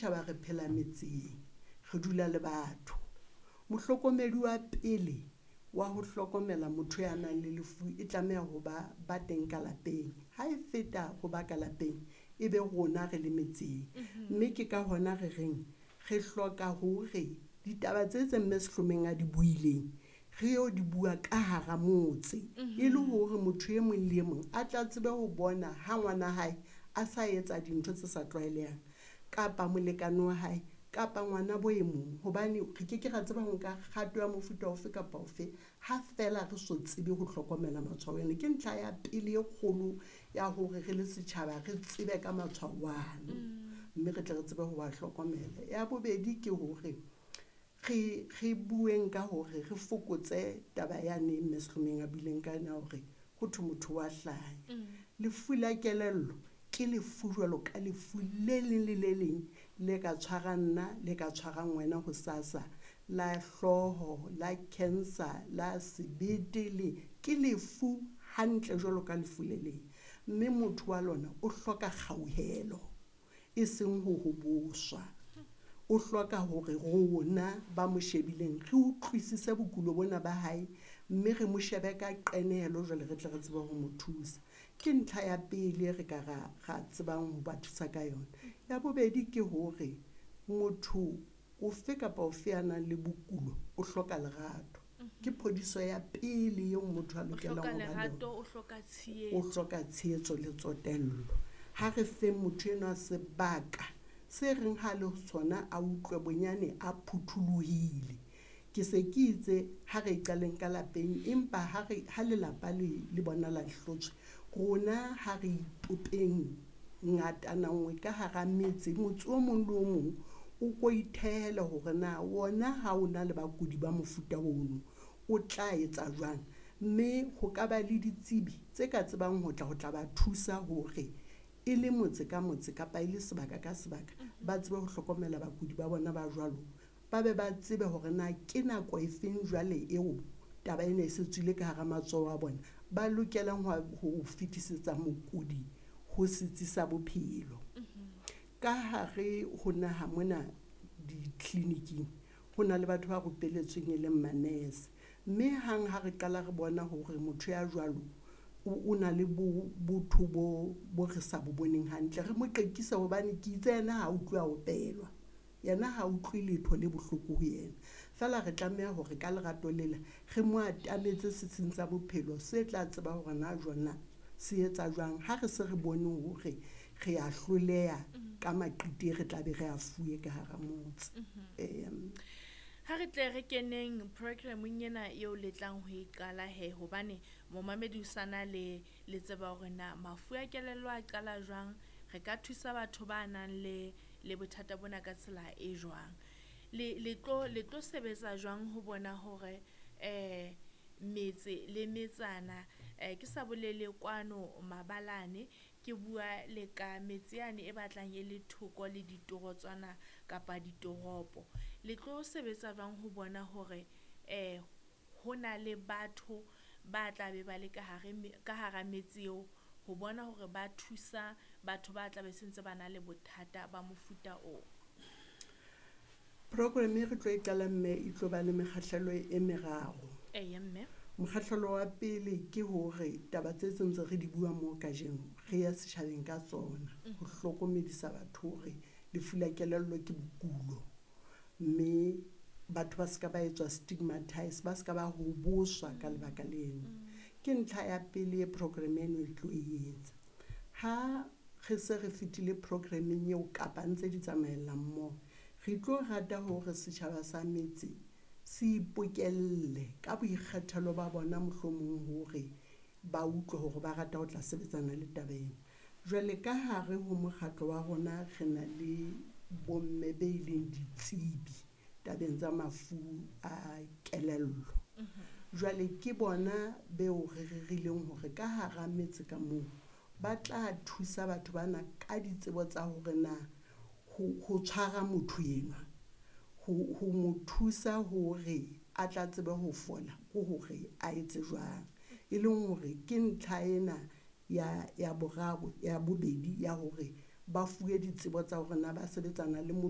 Setjhaba re phela metseng, re dula le batho. Mohlokomedi wa pele wa ho hlokomela motho ya nang le lefu e tlameha ho ba ba teng ka lapeng. Ha e feta ho ba ka lapeng, e be rona re le metseng. Mme ke ka hona re reng re hloka hore ditaba tse tse mme Sehlomeng a di buileng, re yo di bua ka hara motse. E le hore motho e mong le e mong a tla tsebe ho bona ha ngwana hae a sa etsa dintho tse sa tlwaelehang, kapa molekane wa hae, kapa ngwana bo e mong. Hobane re ke ke ra tseba ho nka kgato ya mofuta ofe kapa ofe ha feela re so tsebe ho hlokomela matshwao ena. Ke ntlha ya pele e kgolo ya hore re le setjhaba re tsebe ka matshwao ano, mme re tle re tsebe ho wa hlokomela. Ya bobedi ke hore re bueng ka hore re fokotse taba yane mme Sehlomeng a buileng ka yona hore ho thwe motho wa hlanya. Lefu la kelello ke lefu jwalo ka lefu le leng le le leng le ka tshwarang nna, le ka tshwarang wena hosasa, la hlooho, la cancer, la sebete, le ke lefu hantle jwalo ka lefu le leng. Mme motho wa lona o hloka kgauhelo, e seng ho hoboswa. O hloka hore rona ba mo shebileng re utlwisise bokulo bona ba hae, mme re mo shebe ka qenehelo jwale re tle re tsebe ho mo thusa. Ke ntlha ya pele re ka ra tsebang ho ba thusa ka yona. Ya bobedi ke hore motho ofe kapa ofe ya nang le bokulo o hloka lerato. Ke phodiso ya pele eo motho a O lokelang hloka ho ba le yona. lerato, o hloka tshehetso. O hloka tshehetso le tsotello. Ha re feng motho enwa sebaka se reng ha le sona a utlwe bonyane a phuthulohile. Ke se ke itse ha re qaleng ka lapeng, empa ha lelapa le bona la hlotswe, rona ha re ipopeng ngatana nngwe ka hara metse, motse o mong le o mong o ko ithehele hore na wona ha o na le bakudi ba mofuta ono o tla etsa jwang. Mme ho ka ba le ditsebi tse ka tsebang ho tla ba thusa hore e le motse ka motse kapa e le sebaka ka sebaka, ba tsebe ho hlokomela bakudi ba bona ba jwalo, ba be ba tsebe hore na ke nako e feng jwale eo taba ena e se tswile ka hara matsoho a bona, ba lokelang ho fetisetsa mokudi ho setsi sa bophelo. Ka hare ho naha mona ditleliniking ho na le batho ba rupeletsweng e leng manese, mme hang ha re qala re bona hore motho ya jwalo o na le botho bo re sa bo boneng hantle, re mo qekise hobane ke itse yena ha utlwe a opelwa, yena ha utlwe letho le bohloko ho yena. Feela re tlameha hore ka lerato lela re mo atametse setsing sa bophelo se tla tseba hore na jona se etsa jwang. Ha re se re bone hore re a hloleha ka maqiti, re tla be re a fuwe ka hara motse. Ha re tle re keneng programmeng ena eo le tlang ho e qala he, hobane momamedi o sana le tseba hore na mafu a kelello a qala jwang, re ka thusa batho ba nang le bothata bona ka tsela e jwang. Le tlo sebetsa jwang ho bona hore metse le metsana, ke sa bolele kwano mabalane, ke bua le ka metse yane e batlang e le thoko le ditorotswana kapa ditoropo. Le tlo sebetsa jwang ho bona hore ho na le batho ba tla be ba le ka hare ka hara metse eo ho bona hore ba thusa batho ba tla be sentse ba na le bothata ba mofuta oo? Program e re tlo e qala mme e tlo ba le mekgahlelo e meraro. Eya mme. Mokgahlelo wa pele ke hore taba tse ntse re di bua mo kajeno re ya setjhabeng ka tsona, ho hlokomedisa batho hore lefu la kelello ke bokulo, mme batho ba ska ba etswa stigmatize, ba ska ba hoboswa ka lebaka leno. Ke ntlha ya pele e program eno e tlo e etsa. Ha re se re fetile programmeng eo kapa ntse di tsamaella mmoho, re tlo rata hore setjhaba sa metse se ipokelle ka boikgethelo ba bona, mohlomong hore ba utlwe hore ba rata ho tla sebetsana le taba ena. Jwale ka hare ho mokgatlo wa rona re na le bomme be leng ditsebi tabeng tsa mafu a kelello. Jwale ke bona beo re rerileng hore ka hara metse ka moo ba tla thusa batho bana ka ditsebo tsa hore na ho tshwara motho enwa, ho mo thusa hore a tla tsebe ho fola, ke hore a etse jwang. E leng hore ke ntlha ena ya boraro, ya bobedi ya hore Ba fuwe ditsebo tsa hore na ba sebetsana le motho